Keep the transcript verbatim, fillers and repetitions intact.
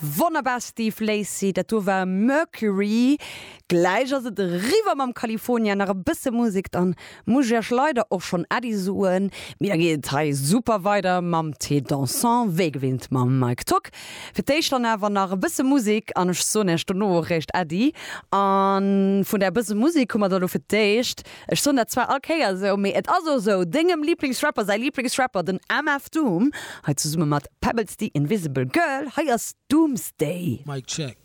Wonnerbar Steve Lacy, dat do war Mercury. Gläich ass et eriwwer mam California, nach e bësse Musek, dann muss ech iech leider och schonn Äddi soen. Mee da geet et hei super weider mam Thé Dansant, wéi gewinnt mam Mike Tock. Fir d'éischt dann awer nach e bësse Musek an ech soen iech dono och eréischt Äddi. A vun där bësse Musek hu mer da lo fir d'éischt, ech soen dat zwar all Kéier esou, mee et ass och esou, dengem Liblingsrapper säi Liblingsrapper, den M F Doom, hei zesumme mat Pebbles the Invisible Girl. Hei ass Doomsday. Mic check.